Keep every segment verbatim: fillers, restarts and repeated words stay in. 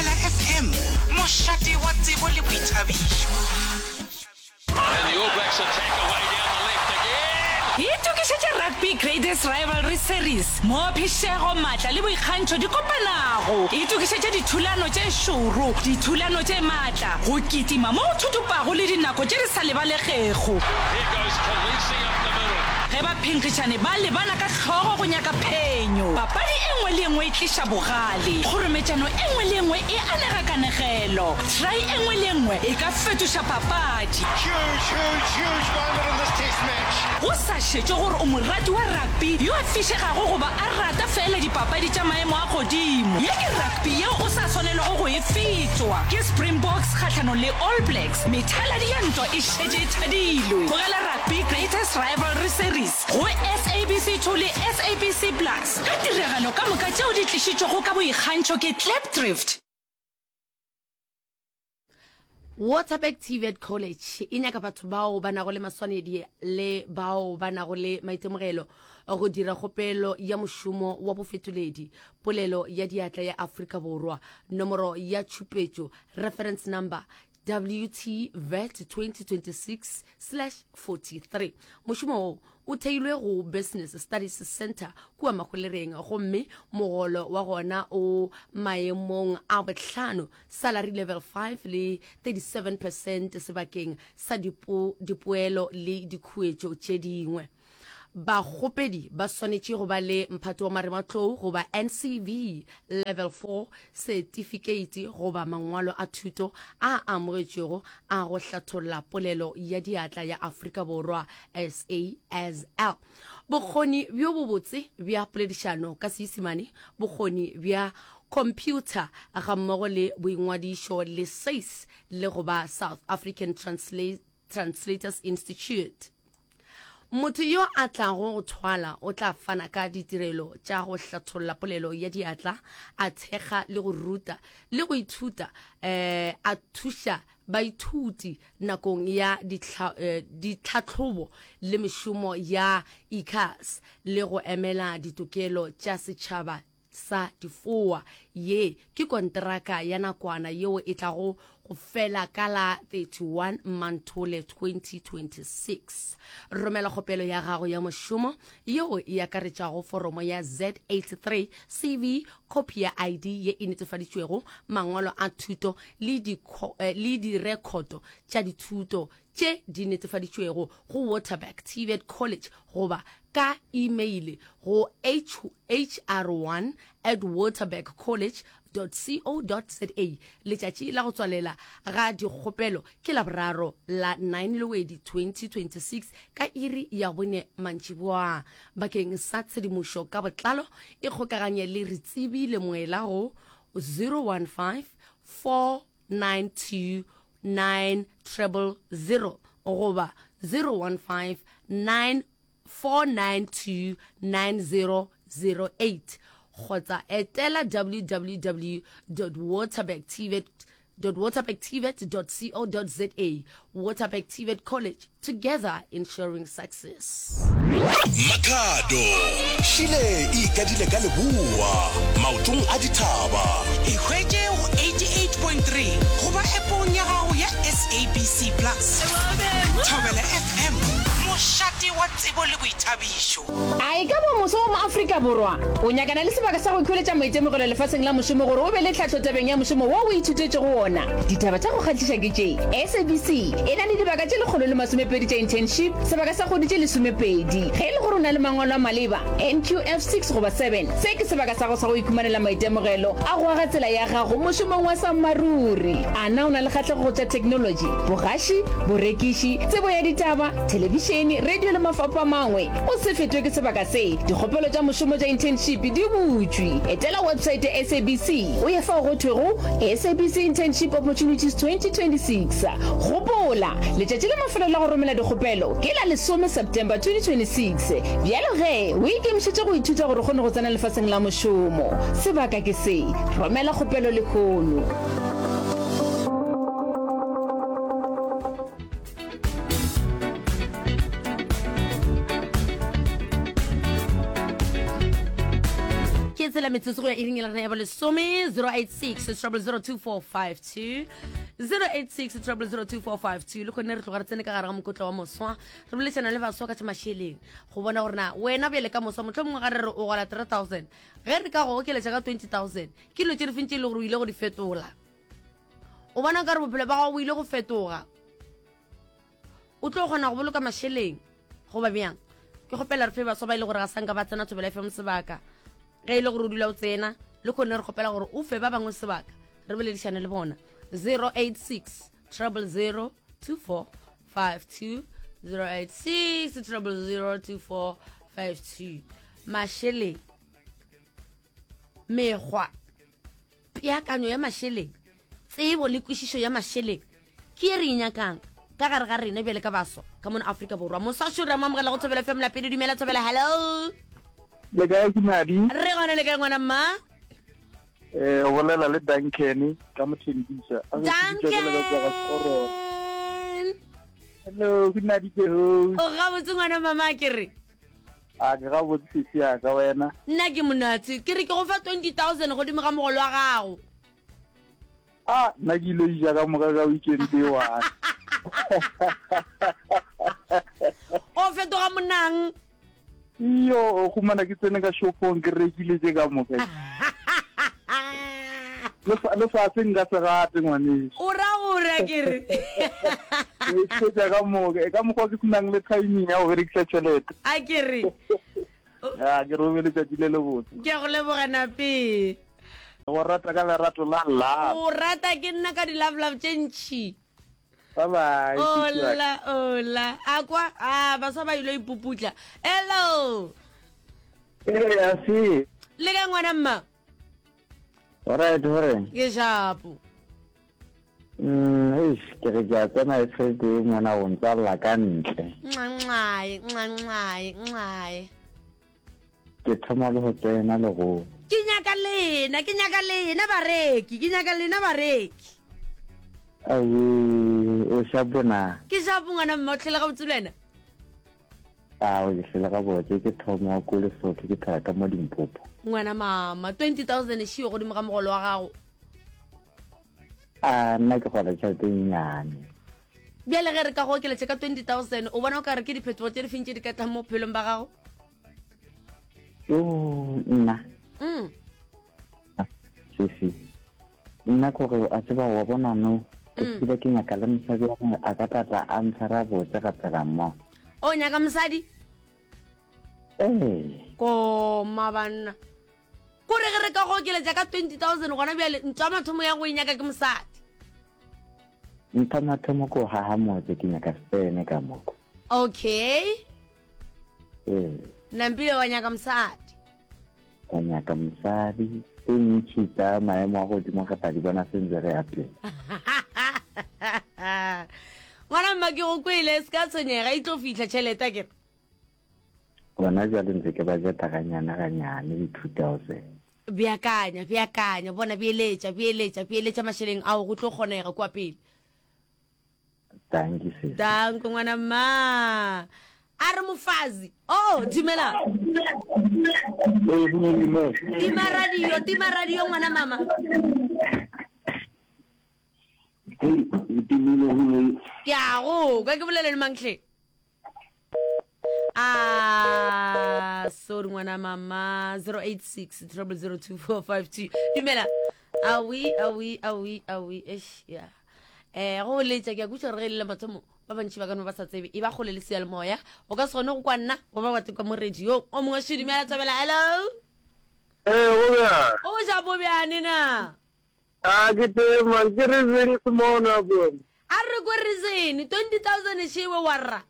Thobela F M, mošate wa tsebo le boithabišo. And the All Blacks attack away down the left again. Itokišetše Rugby Greatest Rivalry Series, moo phišego, maatla le boikgantšho di kopanago. Itokišetše dithulano tše šoro, dithulano tše maatla, go kitima mo go thuthupago le dinako tše di sa lebalegego. Here goes Kolisi up the middle. Ge baphenkgišani ba lebana ka hlogo go nyaka phenyo, papadi e nngwe le e nngwe e tliša bogale, kgorometšano e nngwe le e nngwe e anega kanegelo, try e nngwe le e nngwe e ka fetoša papadi. Huge, huge, huge moment in this test match. Go sa šetšwe gore o morati wa rugby yo a fišegago goba a rata feela dipapadi tša maemo a godimo, ye ke rugby yeo o sa swanelago go e fetwa. Ke Springboks kgahlanong le All Blacks, methaladi ya ntwa e šetše e thadilwe. Bogela Rugby Greatest Rivalry Series go S A B C two le S A B C Plus ka tiragalo ka moka tšeo di tlišitšwego ka boikgantšho ke Klipdrift. Waterberg T V E T College e nyaka batho bao ba nago le maswanedi le bao ba nago le maitemogelo go dira kgopelo ya mošomo wa bofetoledi polelo ya diatla ya Afrika Borwa. Nomoro ya tšhupetšo, reference number, W T vet twenty twenty-six slash forty-three. Mošomo wo o theilwe go Business Studies Center kua Mahwelereng, gomme mogolo wa gona o maemong a bohlano, salary level five, le thirty-seven percent sebakeng sa dipo, dipoelo le dikhuetšo tše dingwe. Bakgopedi ba swanetše go ba le mphato wa marematlou goba N C V level four certificate goba mangwalo a thuto a amogetšwego a go hlatholla polelo ya diatla ya Afrika Borwa, S A S L, bokgoni bjo bobotse bja poledišano ka Seisemane, bokgoni bja computer, gammogo le boingwadišo le SACE le goba South African Transla Translators Institute. Motho yo a tlago go thwala o tla fana ka ditirelo tša go hlatholla polelo ya diatla, a thekga le go ruta le go ithuta, um a thuša baithuti nakong ya ditlhahlobo le mešomo ya I C A S, le go emela ditokelo tša setšhaba sa difoa. Ye ke konteraka ya nakwana yeo e tlago go fela ka la thirty-one Manthole twenty twenty-six. Romela kgopelo ya gago ya mošomo yeo e akaretšago foromo ya Z eighty-three, C V, copy ya I D ye e netefaditšwego, mangwalo a thuto le le direkhoto tša dithuto tše di netefaditšwego go Waterberg T V E T College goba ka email go H R one at waterberg college dot co dot za. Letšatši la go tswalela ga dikgopelo ke Laboraro la nine Lwedi twenty twenty-six ka iri ya bone mantšiboa. Bakeng sa tshedimošo ka botlalo e kgokaganye le Retsebile Moela go zero one five, four nine two nine zero zero goba zero one five, nine four nine two nine zero zero eight, kgotsa etela W W W dot waterberg tvet waterbergtvet dot co dot za. Waterberg T V E T College, together ensuring success. Makhado šile e ikadile ka leboa maotong a dithaba. E hwetše go eighty-eight point three goba appong ya gago ya S A B C Plus. Thobela F M, mošate wa tsebo le boithabišo. A e ka ba moso wa mo Afrika Borwa o nyakana le sebaka sa go ikhweletša maitemogelo lefaseng la mošomo gore o be le tlhahlo tabeng ya mošomo wo o ithutetšego wona? Ditaba tša go kgahliša ke tše: S A B C e na le dibaka tše lekgolo le masomepedi tša internship sebaka sa kgwedi tše lesomepedi. Ge e le gore o na le mangwalo a maleba, N Q F six goba seven, se ke sebaka sa go sa go ikhumanela maitemogelo a go aga tsela ya gago mošomong wa sammaruri. A na o na le kgahlego go tša technology, bogaši, borekiši, tsebo ya ditaba, thelebišene, radio le mafapha a mangwe? O se fetwe ke sebaka se. Dikgopelo tša mošomo tša internship di butšwe. Etela website ya S A B C o ye fao go thwego S A B C Internship Opportunities twenty twenty-six. Gopola, letšatši la mafelo la go romela dikgopelo ke la lesome September twenty twenty-six. Bjalo ge o ikemišetše go ithuta gore o kgone go tsena lefaseng la mošomo, sebaka ke se. Romela kgopelo lehono. Ke tsela. tshela metsotso go ya iring e la rena ya bolesome zero eight six trouble zero two four five two zero eight six trouble zero two four five two le kgonne re tloga re tsene ka gare ga mokotla wa moswa re boledišana le baswa ka tša mašeleng go bona gore na wena bjale ka moswa motlho mongwe ga re re o gola three thousand ge re ka go okeletša ka twenty thousand ke dilo tše di feng tše e le gore o ile go di fetola o bona ka re bophelo ba gago bo ile go fetoga o tlo kgona go boloka mašeleng goba bjang ke kgopela re fe baswa ba e le gore ga sanka ba tsena thobela fm sebaka ge e le gore o dula o tsena le kgone re kgopela gore o fe ba bangwe sebaka re boledišane le bona zero eight six treble zero two four five two zero eight six treble zero two four five two mašeleng mekgwa peakanyo ya mašeleng tsebo le kwešišo ya mašeleng ke ye re e nyakang ka gare ga rena bjale ka baswa ka mono Afrika Borwa. Moswa re mo amogela go Thobela FM lapele. Dumela Thobela, hello. Le kae ke Madi? Re gona le kae ngwana mma? Eh, o bolela le Duncan ka Mothembisa. Duncan. Hello, ke Madi ke host. O gabotse ngwana mama ke re. A ke gabotse sisi ya ka wena. Nna ke monate. Ke re ke go fa twenty thousand godimo ga mogolo wa gago. A nna ke ile ja ka moka ka weekend e one. O fetoga monang. Iyo, o humana ke tsene ka shopong ke rekile tše ka moka. Le fatshe nka se gate ngwaneso. O ra gore ke re. Ke tša ka moka, e ka mokgwa ke senang le timing ya go berekisa tšhelete. A ke re. Ya, ke robe letšatši le lebotse. Ke a go leboga nape. Go rata ka lerato la love. O rata ke nna ka di-love love tše ntšhi. Bye bye. Ola, ola. A kwa, a baswa ba ile ipuputla. Hello. Ee, a se. Le ka ngwana mma? Alright, hore. Ke shapo. Mm, eish, ke re ke a tsena e tšhelete e mona go ntswalla ka ntle. Nxanxae, nxanxae, nxae. Ke thoma le go tsena le go. Ke nyaka lena, ke nyaka lena bareki, ke nyaka lena bareki. Awe, o shapo na? Ke shapo ngwana mma, o tlhele gabotse le wena? Ao, ke hlele gabotse, ke thoma ko Lesotho, ke phela ka mo Limpopo. Ngwana mama, twenty thousand e šiwe godimo ga mogolo wa gago. A nna ke gola tšhelete e nnyane. Bjale ge re ka go okeletša ka twenty thousand, o bona o ka re ke diphetogo tše di feng tše di ka tlang mo bophelong ba gago? Yo, nna. Mm. Sisi. Nna kore a tseba wa bona no. Ke mm. tsebe ke nyaka le mosadi wa gongwe a ka tlatla a ntshwara botse ga phela mmogo. O nyaka mosadi? Ee. Koma banna. Kore ge re ka go okeletša ka twenty thousand gona bjale ntwa mathomo ya go e nyaka ke mosadi. Ntwa mathomo ko haha motse ke nyaka sene ka moko. Okay. Ee. Nampile wa nyaka mosadi. Ka nyaka mosadi e ntšhi tsa maemo a godimo ga tla di bona sentse re ya pele. Ngwana mma ke go kwele se ka tshwenyega e tlo fihla tšhelete ke re. Gona jwale ntse ke budgeta ganyane ganyane di two thousand. Beakanya, beakanya, bona beeletša, beeletša, beeletša mašeleng ao go tlo kgonega kua pele. Thank you sis. Danko ngwana mma. A re mofazi. Oh, dumela. Tima radio, tima radio ngwana mama. Ke a go kwa ke bolele le manghle. Ah, sorry ngwana mama zero eight six triple zero two four five two. Dumela. Awi, awi, awi, awi. Eish, yeah. Eh, go letša ke a kweša gore ge e le la mathomo ba bantši ba ka no ba sa tsebe e ba kgole le seyalemoya o ka se kgone go kwa nna goba wa kwa mo radio o mongwe še dumela Thobela hello Eh, go bjang? O ja bo bjane na? A ke teng man, ke reason se mona bone. A re ko reason twenty thousand shewe wa rra.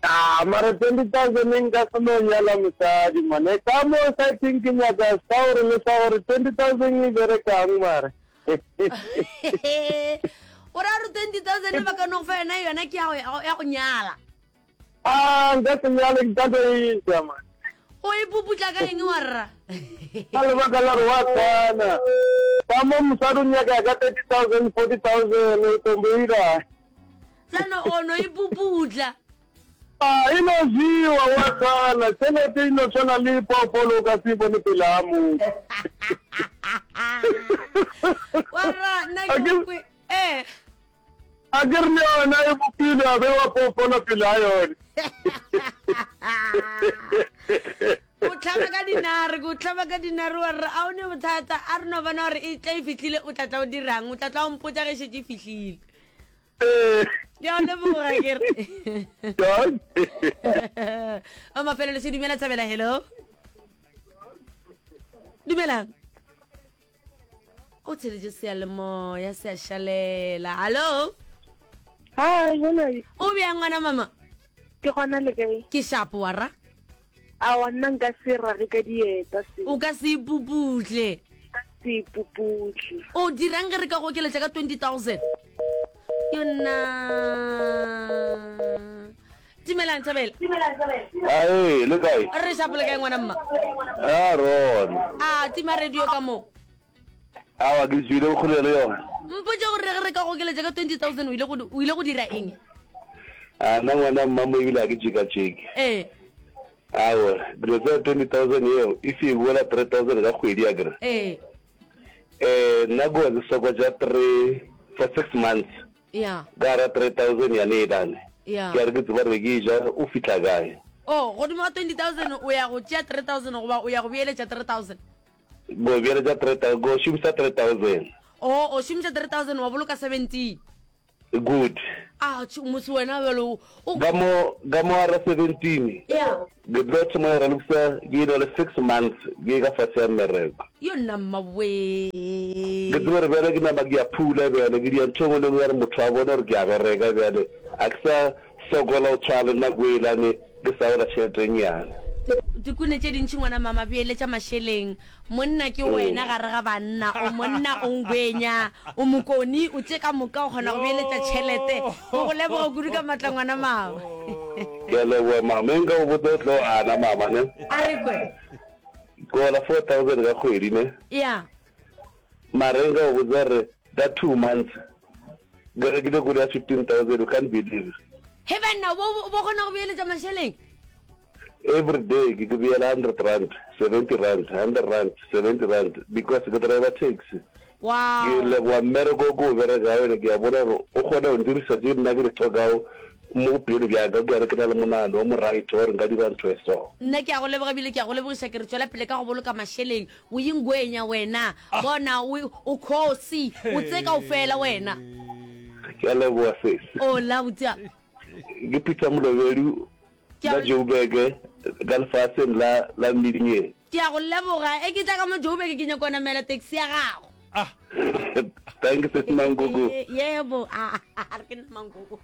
Ah, mara twenty thousand nka se no nyala mosadi man. E ka mo sa think ke nyaka sa gore le sa gore twenty thousand e berekang mara. O ra re twenty thousand ba ka no go fa yona yona ke ya go ya go nyala. Ah, nka se nyale nka tlo e ja man. O e puputla ka eng wa rra? Ka lebaka la gore wa tshwana. Ka mo mosadi o nyaka ka thirty thousand, forty thousand, o tombo ira. Tsano o no e puputla. A e no jewa wa sala, tšhelete e no swana le phoofolo o ka se e bone pele ga motho. Warra, nna ke go kwe. Eh. A ke re le yona e bopilwe ya bewa phoofolo pele ga yone. O hlaba ka dinare, ke o hlaba ka dinare wa re a o ne bothata, a re no bona gore e tla e fihlile o tla tla o dirang, o tla tla o mpotša ge e šetše e fihlile. Ke a leboga ke re. O mafelelo se dumela thabela hello. Dumelang. O tsheletše seyalemoya se a šalela. Hallo. Hi, hello. O bjang ngwana mama? Ke gona le kae? Ke shapo wara. Aowa nna nka se rage ka dieta se. O ka se ipuputle. Ka se ipuputle. O dirang ge re ka go okeletša ka twenty thousand? Yona. Dumelang Thabela. Ae, le kae? Re shapo le kae ngwana mma? A rona. A tima radio ka mo. Awa ke tswile bokgole le yona. Mpotše gore ge re ka go okeletša ka twenty thousand o ile go o ile go dira eng? A nna ngwana mma mo ebile a ke tšekatšeke. Ee. Awa, dilo tsa twenty thousand yeo if e boela three thousand ka kgwedi akere. Ee. Eh nna ko ke soko ja three for six months. Ya. Ka ra three thousand ya ne elane. Ya. Ke a re ke tseba gore ke ja o fihla kae. Oh, godimo ga twenty thousand o ya go tšea three thousand goba o ya go beeletša three thousand? Go beeletša three thousand, go šomisa three thousand. Oh, o šomisa three thousand wa boloka seventeen. Good. Ah, mose wena bjalo o. Ka mo, ka mo gara seventeen. Yeah. Ke tlo thoma go ralokisa ke na le six months ke ka fase ya mmereko. Yo nna mma wee. Ke tsebe gore bjale ke nama ke a phula bjale, ke dia ntho e nngwe le nngwe ya gore motho a bone gore ke a bereka bjale, a ke sa sokola go tshwana le nako elane ke sa gola tšhelete e nnyane. Dikune tše dintši ngwana mama beeletša mašeleng monna ke wena gare ga banna o monna o ngwenya o mokoni o tše ka moka o kgona go beeletša tšhelete ke go leboga kudu ka matla ngwana mama. Ke a leboga mama e nka go botsa o tlo gana mama ne. A re kwe. Ke gola four thousand ka kgwedi ne. Ya. Mara e nka go botsa gore ka two months ke rekile koloi ya fifteen thousand you can't believe. He banna bo bo kgona go beeletša mašeleng. Every day ke ke beela hundred rand, seventy rand, hundred rand, seventy rand because ke driver taxi. Wow. Ke leboga mmereko o ke o berekago ene ke a bona gore o kgona go ndirisa tše nna ke di hlokago mo bophelong bja ka, ke a re ke na le monagano o mo right wa gore nka dira ntho e so. Nna ke a go leboga ebile ke a go lebogiša ke re tšwela pele ka go boloka mašeleng o ingwenya wena bona o o khosi o tse kaofela wena. Ke a leboga sesi. Ola botša. Ke Peter Molobedu Ka Joburg, ka lefaseng la, la Midingeng. Ke a go leboga. E ke tla ka mo Joburg, ke nyako namela taxi ya gago. Ah. Thank you, Sesi Mankoko. Yebo. Ah, a re ke nna Mankoko.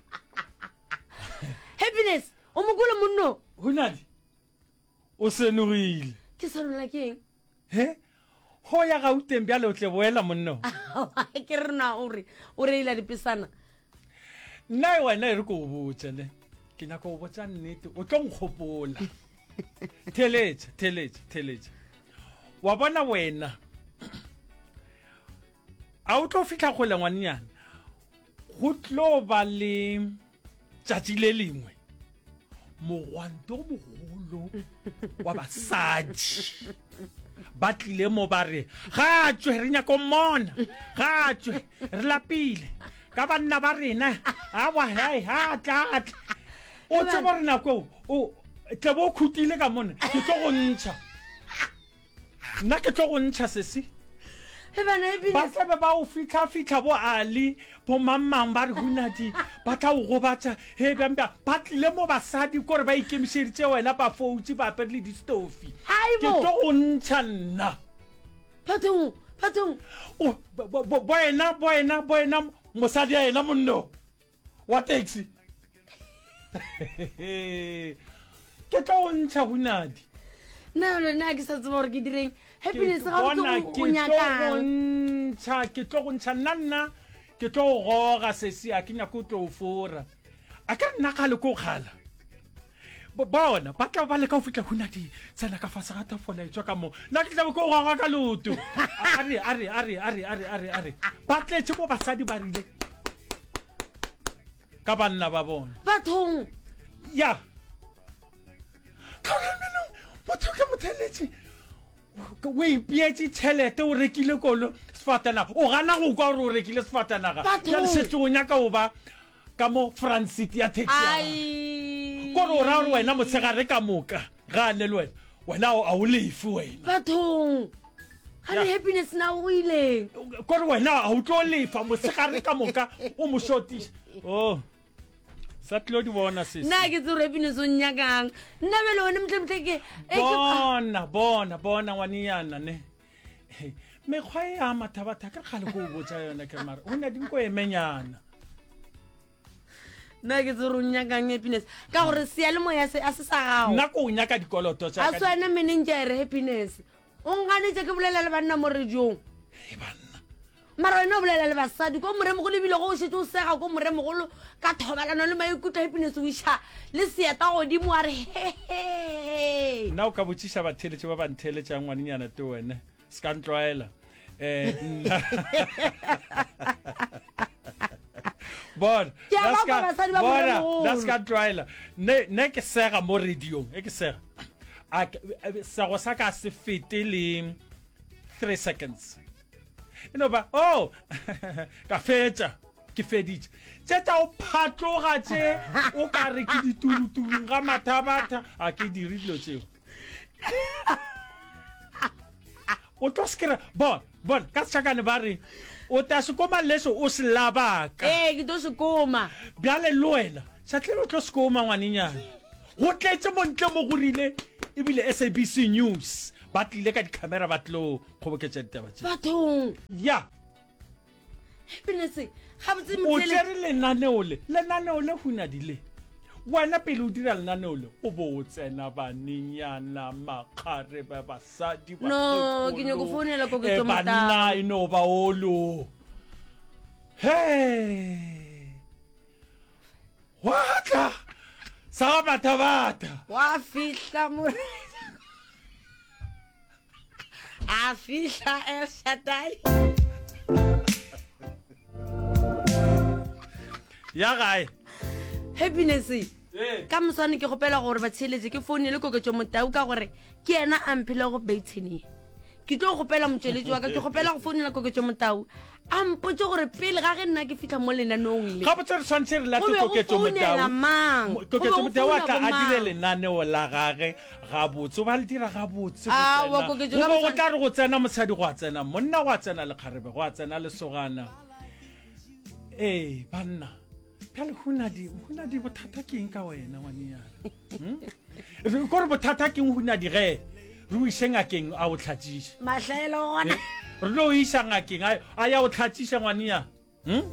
Happiness, o mokolo monno. Hunadi, o senogile. Ke senola ke eng? He? Ho ya Gauteng bjale o tle boela monno. Ke re na o re, o reila dipesana. Nna wena e re ko o botse ne. Ke nyaka go botsa nnete, o tlo nkgopola. Theletša, theletša, theletša. Wa bona wena. A o tlo fihla kgole ngwanenyana. Go tlo ba le tšatši le lengwe mogwanto o mogolo wa basadi ba tlile mo ba re ga tšwe re nyako mmona ga tšwe re lapile ka banna ba rena awa hai ha tla tla o tseba gore nako o tle bo khutile ka mona ke tlo go ntšha nna ke tlo go ntšha sesi ba tlabe ba o fitlha-fitlha bo ali bo mang-mang ba re hunadi ba tla o gobatša he bjang bjang ba tlile mo basadi kore ba ikemišeditše wena ba foutše ba apere le distofi ke tlo go ntšha nna bathong bathong bo ena bo ena bo ena mosadi ya ena monno wa taxi ke tlo go ntšha hunadi nna le nna ke sa tseba gore ke direng happiness ga bona o ke tlo go nyakang ntšha ke tlo go ntšha nna nna ke tlo go goga sesi a ke nyako o tlo o fora a ka nna kgale ko kgala Bo- bona ba tla ba leka go fihla hunadi tsena ka fase ga tafola e tswa ka mo nna ke tlabe ke o goga ka leoto a re a re a re a re a re a re a re ba tletše mo basadi ba rile ka banna ba bona bathong ya Motheletše o ipeetše tšhelete o rekile kolo sefatanaga o gana go kwa gore o rekile sefatanaga bjale šetše o nyaka go ba ka mo front seat ya taxi ya gagwe kore o ra gore wena motshegare ka moka ga a ne le wena wena a o lefe wena bathong ga le happiness na o ileng kore wena a o tlo lefa motshegare ka moka o mo shotiša oh sa tlo di bona sesi nna ke tsere happiness o nnyakang nna bjale one motlemotle ke e bona bona bona ngwanenyana ne mekgwa e ya mathabatha ke kgale ko o botsa yone ke mara o ne dinko emenyana nna ke tsere o nnyakang happiness ka gore seyalemoya se a se sa gago nna ko o nyaka dikoloto tsa a swane menentša ere happiness o nganetše ke bolela le banna mo radiong mara wena o bolela le basadi ko moremogolo ebile go o šetse o sega ko moremogolo ka thobalano le maikutlo happiness o iša le seeta godimo wa re hehe nna o ka botšiša batheeletši ba ba ntheeletšang ngwanenyana te wene se ka ntlwaela um bona Ke a ba kwa basadi ba moremogolo. nna se ka ntlwaela ne ne ke sega mo radiong e ke sega A ke- sego sa ka se fete le three seconds e no ba oh ka fetša ke feditše tše tša o phatloga tše o ka re ke ditulutulung ga mathabatha a ke dire dilo tšeo o tlo se kry bona bona ka setšhakane ba re o ta sekoma leso o se labaka ee ke tlo sekoma bjale le wena šatlele o tlo sekoma ngwanenyana go tletše montle mo go rile ebile S A B C News ba tlile ka dikhamera ba tlo kgoboketša ditaba tše. Bathong. Ya. Happiness gabotse O motšhele. tšere lenaneo le, lenaneo le hunadi le. Wena pele o dira lenaneo le, o bo o tsena banenyana, makgarebe, basadi, No, ke nyako bakgekolo, founela Koketso eh, banna Motau. e no ba olo. Hee! Wa tla sa ga bathabata. Wa fihla morena. A fihla El Shaddai. Ya gae. Happiness. Ka moswane ke kgopela gore batheeletše ke founele Koketšo Motau ka gore ke yena a mphilego baitshene. Ke tlo kgopela motšweletši wa ka, ke kgopela go founela Koketšo Motau a mpotše gore pele ga ge nna ke fihla mo lenaneong le, Gabotse re swanetše re late go be go Koketšo founela Motau. mang? Mo- Go be Koketšo go Motau a founa tla a dire bomang? lenaneo la gage gabotse, o ba le dira gabotse go Aowa, tsena. Koketšo Go ka be go moswane. tla re go tsena mosadi gwa tsena monna, gwa tsena lekgarebe, gwa tsena lesogana. Ee, banna. Bjale Hunadi, Hunadi bothata ke eng ka wena ngwanenyana? Hmm? Kore bothata ke eng Hunadi ge re o ise ngakeng a o tlhatšiše? Mahlaelo gona. Eh, re tlo o isa ngakeng a a ya o tlhatšiša ngwanenyana. Hmm?